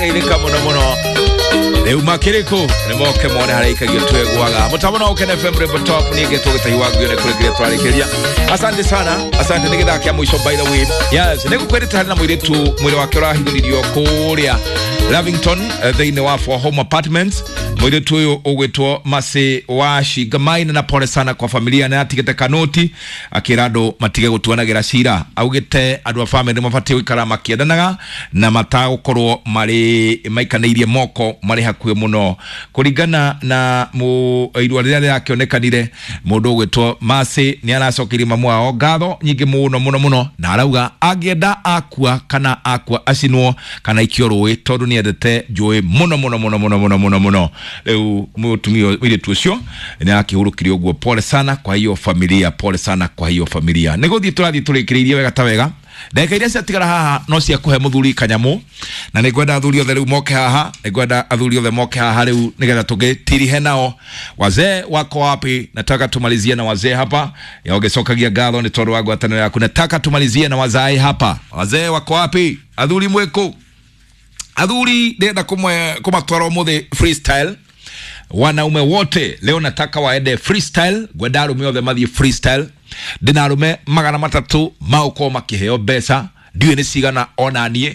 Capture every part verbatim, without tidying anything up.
Geithĩka mũno mũno. Rĩu makĩrĩkũ nĩ moke mone harĩa ikagio twegwaga mũtambo no Ũkene F M Rainbow Top. Niĩ ngetwo Gĩtahi wa Nguyo nĩ kũrĩkĩria twarĩkĩria. Asante sana, asante. Nĩ gĩthaa kĩa mũico, by the way. Yes, nĩ gũkwĩrĩte harĩ na mũirĩtu mwĩrĩ wake ũrahithũririo kũrĩa Lavington, eh, thĩinĩ wa Four Home Apartments. Mũirĩtu ũyũ ũgwĩtwo Mercy wa Shingamaina, na pole sana kwa familia. Na atigĩte kanoti akĩra andũ matige gũtuanagĩra cira. Augĩte andũ a family mabatiĩ gũikara makĩendanaga na matagũkorwo marĩ maikanĩirie moko marĩ hakuhĩ mũno. Kũringana na mu irua rĩrĩa rĩrakĩonekanire, mũndũ ũgwĩtwo Mercy nĩ aracokeirie mamu wao ngatho nyingĩ mũno mũno mũno, na arauga angĩenda akua kana akua acinwo kana ikio rũĩ, tondũ nĩ endete njũĩ mũno mũno mũno mũno mũno mũno mũno. Rĩu mũtumia mũirĩtu ũcio nĩ arakĩhurũkirie ũguo. Pole sana kwa hiyo familia, pole sana kwa hiyo familia. Nĩ gũthiĩ tũrathiĩ tũrĩkĩrĩirie wega ta wega. Ndagĩka iria ciatigara haha no cia kũhe mũthuri kanyamũ, na nĩ ngwenda athuri othe rĩu moke haha. Nĩ ngwenda athuri othe moke haha rĩu nĩgetha tũgĩtirihe nao. Wazee wako wapi? Nataka tumalizie na wazee hapa. Ya ũgĩcokagia ngatho nĩ tondũ wa ngwatanĩro yaku. Nataka tumalizie na wazee hapa. Wazee wako wapi? Athuri mwĩkũ? Athuri ndĩrenda kũmwe kũmatwara ũmũthĩ freestyle. Wanaume wote leo nataka waende freestyle. Ngwenda arume othe mathiĩ freestyle. Ndĩna arume magana matatũ magũkorwo makĩheo mbeca, ndiũĩ nĩ cigana ona niĩ.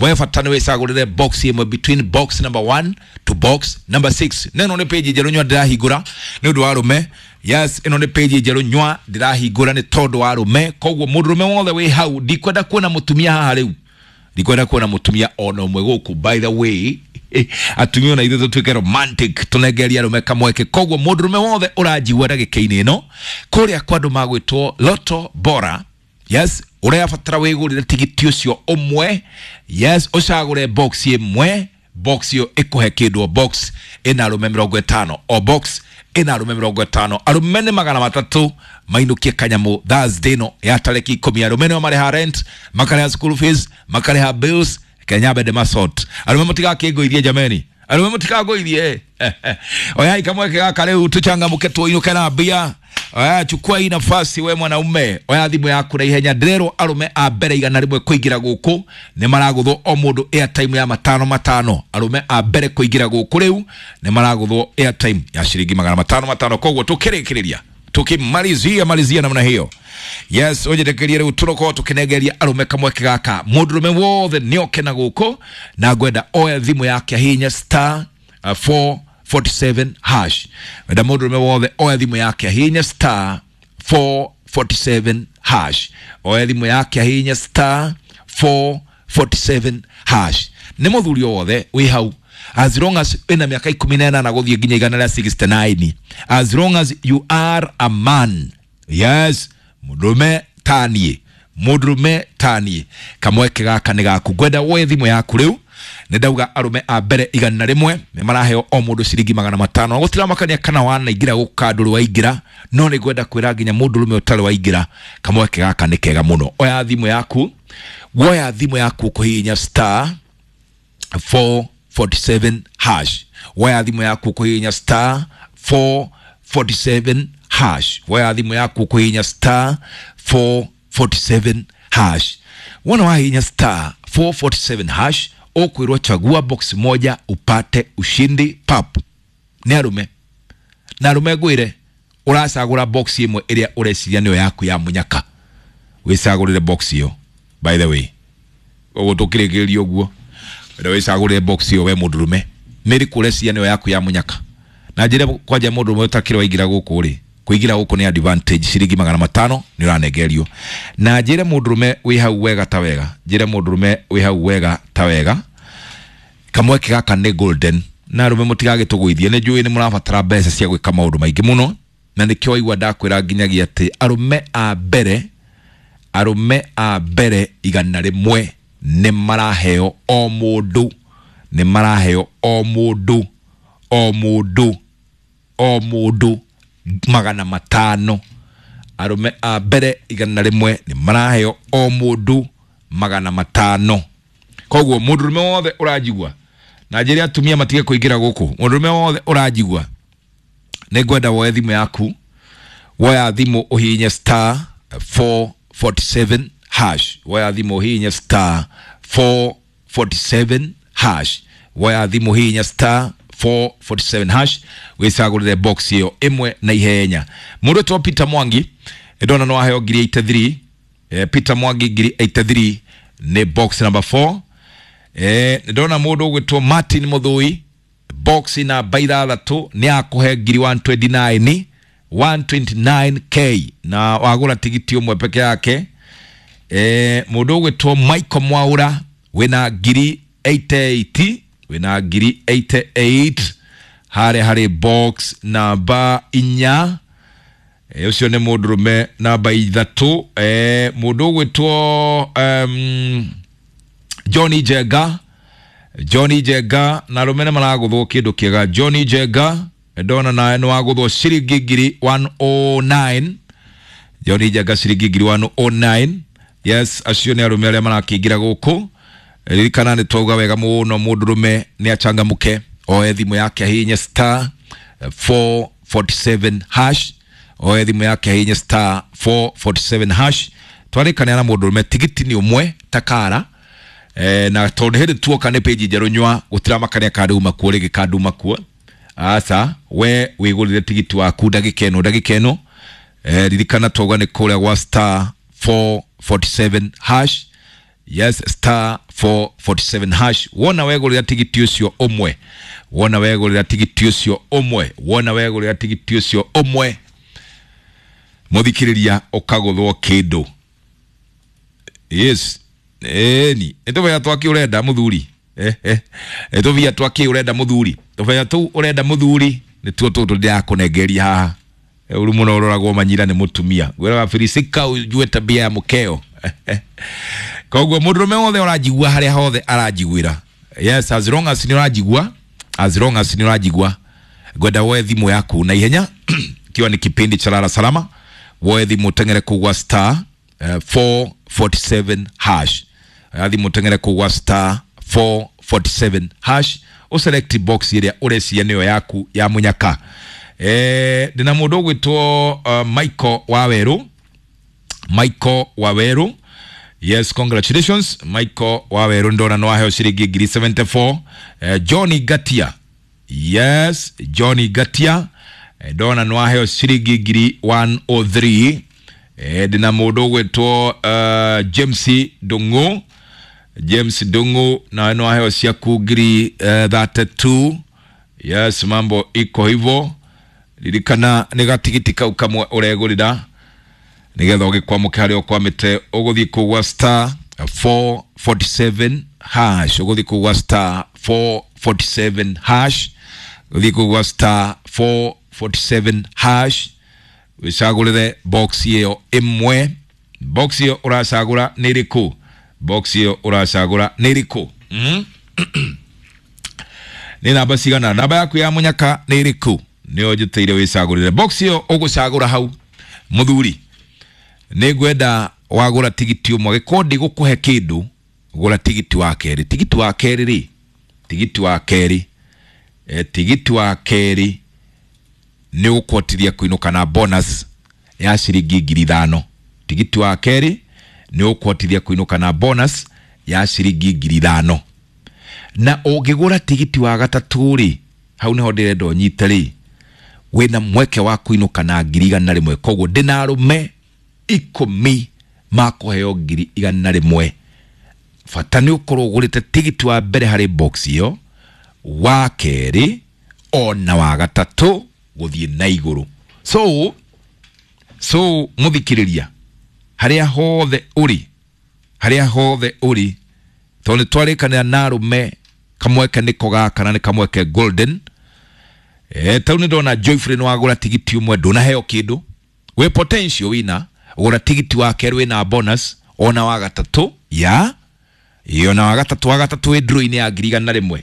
We bata nĩ wĩcagũrĩre box ĩmwe between box number one to box number six. Na ĩno nĩ page njerũ nyua ndĩrahingũra nĩ ũndũ wa arũme. Yes, ĩno nĩ page njerũ nyua ndĩrahingũra nĩ tondũ wa arũme. Koguo mũndũrũme wothe wĩ hau, ndikwenda kuona mũtumia haha rĩu, ndikwenda kuona mũtumia ona ũmwe gũkũ. By the way, atumia ona ithuĩ tũtuĩke romantic, tũnengerie arũme kamweke. Koguo mũndũrũme wothe ũranjigua ndagĩka-inĩ ĩno kũrĩa kwa andũ magwĩtwo Loto Bora, yes, ũrabatara wĩgũrĩre tigiti ũcio ũmwe. Yes, ũcagũre box ĩmwe. Box ĩyo ĩkũhe kĩndũ. O box ĩna arũme mĩrongo ĩtano, o box ĩna arũme mĩrongo ĩtano. Arũme nĩ magana matatũ mainũkie kanyamũ Thursday ĩno ya tarĩki ikũmi. Arũme nĩo marĩha rent, makarĩha school fees, makarĩha bills. Kenya bende masort. Arũme mũtigakĩngũithie, jameni, arũme mũtikangũithie. Oyai kamweke gaka rĩu tũchangamũke, tuinũke na mbia. Oya, chukua hii nafasi we mwanaume, oya thimũ yaku na ihenya. Ndĩrerwo arũme a mbere igana rĩmwe kũingĩra gũkũ nĩ maragũthwo o mũndũ airtime ya matano matano. Arũme a mbere kũingĩra gũkũ rĩu nĩ maragũthwo airtime ya ciringi magana matano matano. Koguo tũkĩrĩkĩrĩria, tukimalizia malizia namna hiyo, yes, ũnjĩtĩkĩrie rĩu tũrokorwo tũkĩnengeria arũme kamweke gaka. Mũndũrũme wothe nĩoke na gũkũ na ngwenda oe thimũ yake ahihinye star uh, four forty-seven hash. Wenda mũndũrũme wothe oe thimũ yake ahihinye star four forty-seven hash. Oe thimũ yake ahihinye star four forty-seven hash. Nĩ mũthuri o wothe wĩ hau, as long as wĩna mĩaka ikũmi na ĩnana gũthiĩ nginya igana rĩa sixty-nine, as long as you are a man, yes, mũndũrũme taniĩ, mũndũrũme taniĩ, kamweke gaka nĩ gaku. Ngwenda woe thimũ yaku rĩu. Nĩ ndauga arũme a mbere igana rĩmwe nĩ maraheo o mũndũ ciringi magana matano. Gũtiramakania kana wanaingĩra gũka ndũrĩ waingĩra, no nĩ ngwenda kwĩra nginya mũndũrũme ũtarĩ waingĩra, kamweke gaka nĩ kega mũno. Oya thimũ yaku, woya thimũ yaku kũhihinya star four forty-seven hash. Woya thimũ yaku kũhihinya star four forty-seven hash. Woya thimũ yaku kũhihinya star four forty-seven hash. Wona wahihinya star four forty-seven hash, ũkwĩrwo chagua box moja upate ushindi pap. Nĩ arũme na arũme ngwĩre, ũracagũra box ĩmwe ĩrĩa ũreciria nĩyo yaku ya mũnyaka. Wĩcagũrĩre box ĩyo. By the way, ũguo tũkĩrĩkĩrĩria ũguo, wenda wĩcagũrĩre box ĩyo we mũndũrũme, nĩ ĩrĩkũ ũreciria nĩyo yaku ya mũnyaka. Na njĩre kwanja mũndũrũme ũtakĩrĩ waingĩra gũkũ rĩ, kũingĩra gũkũ nĩ advantage, ciringi magana matano nĩ ũranengerio. Na njĩre mũndũrũme wĩ hau wega ta wega, njĩre mũndũrũme wĩ hau wega ta wega, kamweke gaka nĩ golden. Na arũme mũtigagĩtũgũithie, nĩ njũĩ nĩ mũrabatara mbeca cia gwĩka maũndũ maingĩ mũno, na nĩkĩo waigua ndakwĩra nginyagia atĩ arũme a mbere arũme a mbere igana rĩmwe nĩ maraheo o mũndũ, nĩ maraheo o mũndũ, o mũndũ, o mũndũ magana matano. Arũme a mbere igana rĩmwe nĩ maraheo o mũndũ magana matano. Koguo mũndũrũme wothe ũranjigua, na njĩre atumia matige kũingĩra gũkũ, mũndũrũme wothe ũranjigua, nĩ ngwenda woe thimũ yaku. Woya thimũ ũhihinye star four forty-seven hash. Woya thimũ ũhihinye star four forty-seven hash. Woya thimũ hihinya star four forty-seven hash wĩcagũrĩre box ĩyo ĩmwe na ihenya. Mũndũ wĩtwo Peter Mwangi ndona no aheo ngiri eighty-three. Eh, Peter Mwangi ngiri eighty-three nĩ box number four. Eh, ndona mũndũ ũgwĩtwo Martin Mũthũi box namba ithathatũ nĩ akũhe ngiri one twenty-nine, one twenty-nine K na wagũra tigiti ũmwe peke yake. Eh, mũndũ ũgwĩtwo Michael Mwaura wĩna ngiri eighty-eight, wĩna ngiri eighty-eight harĩa harĩ box namba inya. Eh, ũcio nĩ mũndũrũme namba ithatũ. Eh, mũndũ ũgwĩtwo um, Johnny Jenga, Johnny Jenga na arũme nĩ maragũthwo kĩndũ kĩega. Johnny Jenga ndona nawe nĩ wagũthwo ciringi ngiri one oh nine. Johnny Jenga ciringi ngiri one oh nine. Yes, acio nĩ arũme arĩa marakĩingĩra gũkũ. Ririkana nĩ twauga wega mũno mũndũrũme nĩ achangamũke, oe thimũ yake ahihinye star four forty-seven hash, oe thimũ yake ahihinye star four forty-seven hash. Twarĩkanĩra na mũndũrũme tigiti nĩ ũmwe takara. Eh, na tondũ hĩndĩ tuoka nĩ page njerũ nyua gũtiramakania kanduma kuo rĩngĩ kanduma kuo. Aca we wĩgũrĩre tigiti waku ndagĩka ĩno ndagĩka ĩno. Eh, ririkana twauga nĩ kũrĩa gwa star four forty-seven hash. Yes, star four forty-seven hash. Wona wegũrĩra tigiti ũcio ũmwe, wona wegũrĩra tigiti ũcio ũmwe, wona wegũrĩra tigiti ũcio ũmwe, mũthikĩrĩria ũkagũthwo kĩndũ. Yes, ĩni nĩ tũbea twakĩ ũrenda mũthuri? Eh, eh, nĩ tũbia twakĩ ũrenda mũthuri? Tũbea tũu ũrenda mũthuri nĩtuo tũtũ ndĩrakũnengeria haha. Ũru mũno ũroragwo manyira nĩ mũtumia. Ngwĩraga filisika ũjue tabia ya mũkeo. Koguo mũndũrũme wothe ũranjigua harĩa hothe aranjiguĩra. Yes, as long as nĩ ũranjigua, as long as nĩ ũranjigua, ngwenda woe thimũ yaku na ihenya ikiwa ni kipindi cha Lala Salama, woe thimũ teng'ere kũgwa star, eh, four forty-seven hash. Oya thimũ teng'ere kũgwa star four forty-seven hash, ũselect box ĩrĩa ũreciria nĩyo yaku ya mũnyaka. Eh, ndĩna mũndũ ũgwĩtwo, uh, Michael Waweru. Michael Waweru. Yes, congratulations Michael Waweru, ndona no aheo ciringi ngiri seventy-four. Eh, Johnny Gatia. Yes, Johnny Gatia ndona no aheo ciringi ngiri one oh three. Eh, ndĩna mũndũ ũgwĩtwo, uh, James Ndung'u. James Ndung'u nawe no aheo ciaku ngiri, uh, thirty-two. Yes, mambo iko hivyo. Ririkana nĩ gatigiti kau kamwe ũregũrĩra nĩgetha ũgĩkwamũke harĩa ũkwamĩte. Ũgũthiĩ kũgwa star four forty-seven hash, ũgũthiĩ kũgwa star four forty-seven hash, ũgũthiĩ kũgwa star four forty-seven hash, wĩcagũrĩre box ĩyo ĩmwe. Box ĩyo ũracagũra nĩ ĩrĩkũ? Box ĩyo ũracagũra nĩ ĩrĩkũ? Mm? Nĩ namba cigana? Namba yaku ya mũnyaka nĩ ĩrĩkũ? Nĩyo njĩtĩire wĩcagũrĩre box ĩyo ũgũcagũra hau. Mũthuri, nĩ ngwenda wagũra tigiti ũmwe, gĩkorwo ndigũkũhe kĩndũ, gũra tigiti wa kerĩ. Tigiti wa kerĩ rĩ, tigiti wa kerĩ, eh, tigiti wa kerĩ nĩ ũgũkũhotithia kũinũka na bonus ya ciringi ngiri ithano. Tigiti wa kerĩ nĩ ũgũkũhotithia kũinũka na bonus ya ciringi ngiri ithano. Na ũngĩgũra tigiti wa gatatũ rĩ, hau nĩho ndĩrenda ũnyite rĩ, wĩna mweke wa kũinũka na ngiri igana rĩmwe. Koguo ndĩna arũme ikũmi makũheo ngiri igana rĩmwe. Bata nĩ ũkorwo ũgũrĩte tigiti wa mbere harĩ box ĩyo, wa kerĩ ona wa gatatũ gũthiĩ na igũrũ. So, so mũthikĩrĩria, harĩa hothe ũrĩ, harĩa hothe ũrĩ, tondũ nĩ twarĩkanĩra na arũme kamweke nĩko gaka na nĩ kamweke golden. Eh, tau nĩ ndona Joyfrey nĩ wagũra tigiti ũmwe ndũnaheo kĩndũ, wĩ potential wina gũra tigiti wa kerĩ wĩna bonus ona wa gatatũ ya iyo na wa gatatũ, wa gatatũ wĩ draw-inĩ ya ngiri igana rĩmwe.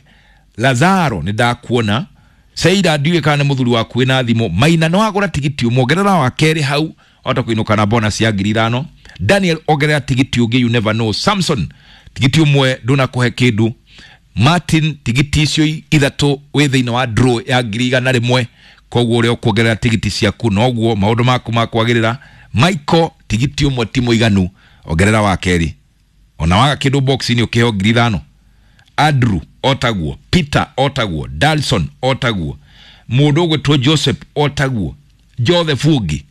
Lazaro nĩ ndakuona, Seira ndiũĩ kana nĩ mũthuri waku wĩna thimũ. Maina nĩ wagũra tigiti ũmwe, ongerera wa kerĩ hau wahota kũinũka na bonus ya ngiri ithano. Daniel ongerera tigiti ũngĩ, you never know. Samson tigiti ũmwe ndũnakũhe kĩndũ. Martin tigiti icio ithatũ wĩ thĩinĩ wa draw ya ngiri igana rĩmwe, koguo ũrĩa ũkuongerera tigiti ciaku noguo maũndũ maku makwagĩrĩra. Michael tigiti ũmwe ti mũiganu, ongerera wa kerĩ, ona waga kĩndũ box-inĩ ũkĩheo ngiri ithano. Andrew otaguo, Peter otaguo, Dalson otaguo, mundu ugwitwo Joseph otaguo, Joseph ungi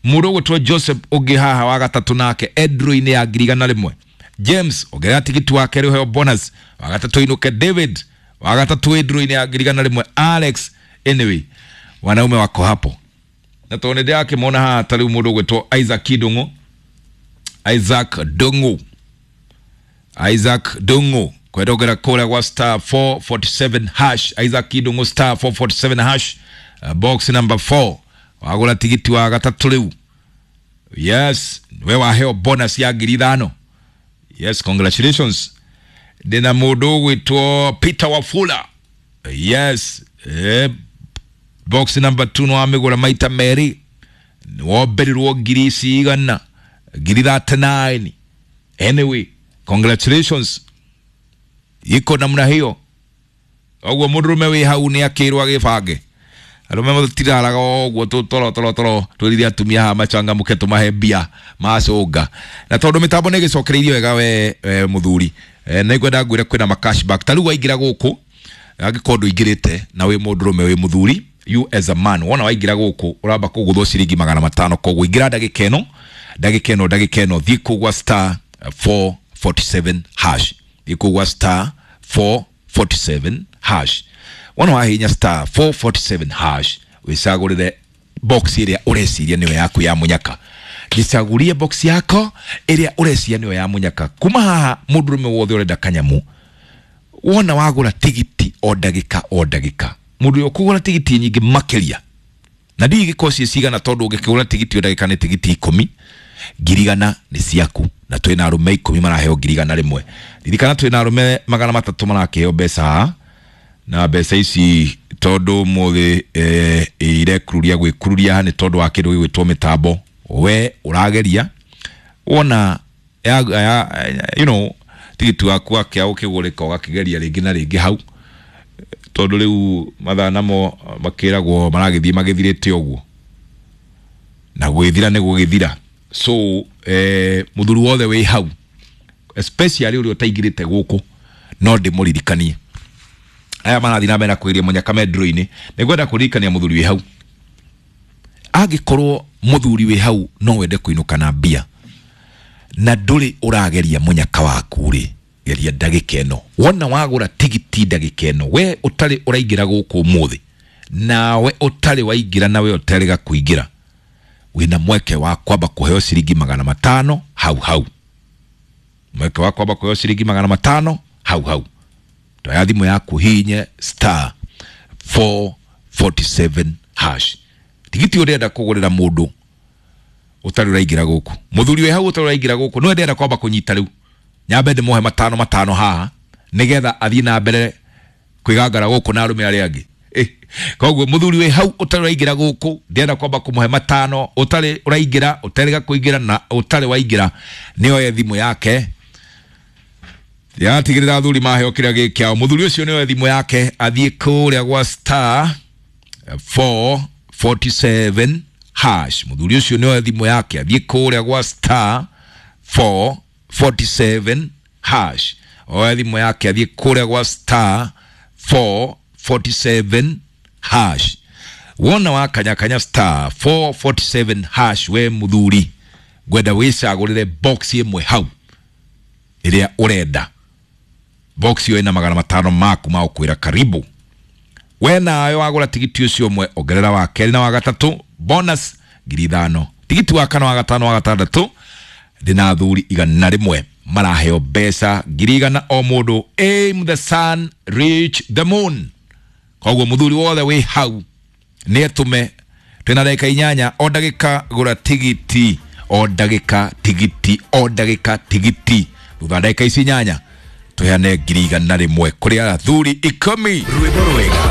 mundu ugwitwo Joseph ungi haha wa gatatu nake Edroini ya ngiri igana rimwe, James ongerera tigiti wa keri uheo bonus wa gatatu inuke, David wa gatatu Edroini ya ngiri igana rimwe, Alex. Anyway, wanaume wako hapo na tondu nĩ ndĩrakĩmona haha ta rĩu mũndũ ũgwĩtwo Isaac Ndung'u, Isaac Ndung'u, Isaac Ndung'u kwendongera kũrĩa gwa star four forty-seven hash, Isaac Ndung'u star four forty-seven hash, uh, box number four wagũra tigiti wa gatatũ rĩu. Yes, we waheo bonus ya ngiri ithano. Yes, congratulations. Ndĩna mũndũ ũgwĩtwo Peter Wafula. Yes, eh, box number two no amigura maita meri womberirwo ngiri ici igana ngiri thirty-nine. Anyway, congratulations, iko namna hiyo. Oguo mundurume wi hau ni akirwo agibange arume matiraraga oguo tu toro toro toro twirire atumia haha machangamuke tumahe mbia macunga na tondu mitambo ni gicokereirie wega we, we muthuri e, na ngwenda ngwire kwina ma cashback ta riu waingira guku angikorwo nduingirite na wi mundurume wi muthuri, you as a man wona waingira guku uramba kuguthwo ciringi magana matano koguo ingira ndagika ino ndagika ino ndagika ino thiĩ kũu gwa star four forty-seven hash, thiĩ kũu gwa star four forty-seven hash. Wona wahinya star four forty-seven hash wicagũrĩre box ĩrĩa ũreciria nĩyo yaku ya mũnyaka. Gĩcagũrie box yako ĩrĩa ũreciria nĩyo ya mũnyaka. Kuma haha mũndũrũme wothe ũrenda kanyamu wona wagũra tigiti o ndagĩka o ndagĩka mũndũ ũyũ ũkũgũra tigiti nyingĩ makĩria na ndigĩkorwo ciĩ cigana tondũ ũngĩkĩgũra tigiti o ndagĩka nĩ tigiti ikũmi ngiri igana nĩ ciaku na twĩna arũme ikũmi maraheo ngiri igana rĩmwe. Ririkana twĩna arũme magana matatũ marakĩheo mbeca haha na mbeca ici tondũ ũmũthĩ eh, irekururia gwĩkururia haha nĩ tondũ wa kĩndũ gĩgwĩtwo mĩtambo. We ũrageria wona ya, ya, you know tigiti waku wakĩa ũkĩgũrĩka ũgakĩgeria rĩngĩ na rĩngĩ hau tondũ rĩu mathaa namo makĩragwo maragĩthiĩ magĩthirĩte ũguo na gwĩthira nĩ gũgĩthira. So eh, mũthuri wothe wĩ hau especially ũrĩa ũtaingĩrĩte gũkũ no ndĩmũririkanie aya marathiĩ na mbere na kwĩria mũnyaka me ndũrũ-inĩ nĩngwenda kũririkania mũthuri wĩ hau angĩkorwo mũthuri wĩ hau no wende kũinũka na mbia na ndũrĩ ũrageria mũnyaka waku rĩ geria ndagĩka ĩno wona wagũra tigiti ndagĩka ĩno we ũtarĩ ũraingĩra gũkũ ũmũthĩ nawe ũtarĩ waingĩra nawe ũtarĩga kũingĩra wĩna mweke wa kwamba kũheo ciringi magana matano hau hau mweke wa kwamba kũheo ciringi magana matano hau hau toya thimũ yaku hinye star four forty-seven hash tigiti ũrenda kũgũrĩra mũndũ ũtarĩ ũraingĩra gũkũ mũthuri wĩ hau ũtarĩ ũraingĩra gũkũ no ndĩrenda kwamba kũnyita rĩu nyambe ndĩmũhe matano matano haha nĩgetha athiĩ na mbere kwĩgangara gũkũ na arũme arĩa angĩ. Eh, koguo mũthuri wĩ hau ũtarĩ ũraingĩra gũkũ ndĩrenda kwamba kũmũhe matano ũtarĩ ũraingĩra ũtarĩga kũingĩra na ũtarĩ waingĩra nĩoye thimũ yake yatigĩrĩra athuri maheo kĩrĩa gĩ kĩao mũthuri ũcio nĩoye thimũ yake athiĩ kũrĩa gwa star four forty-seven hash mũthuri ũcio nĩoye thimũ yake athiĩ kũrĩa gwa star four forty-seven hash oye thimũ yake athiĩ kũrĩa gwa star four forty-seven hash wona wakanyakanya star four forty-seven hash we mũthuri ngwenda wĩcagũrĩre box ĩmwe hau ĩrĩa ũrenda box ĩyo ĩna magana matano maku ma ũkwĩra karibu we nawe wagũra tigiti ũcio ũmwe ongerera wa kerĩ na wa gatatũ bonus ngiri ithano tigiti wa kana wa gatano wa gatandatũ ndĩna athuri igana rĩmwe maraheo mbeca ngiri igana o mũndũ. Aim the sun, reach the moon. Koguo mũthuri wothe wĩ hau nĩ etũme twĩna ndagĩka inyanya o ndagĩka gũra tigiti o ndagĩka tigiti o ndagĩka tigiti thutha wa ndagĩka ici inyanya tũheane ngiri igana rĩmwe kũrĩ athuri ikũmi. Rwĩmbo rwega.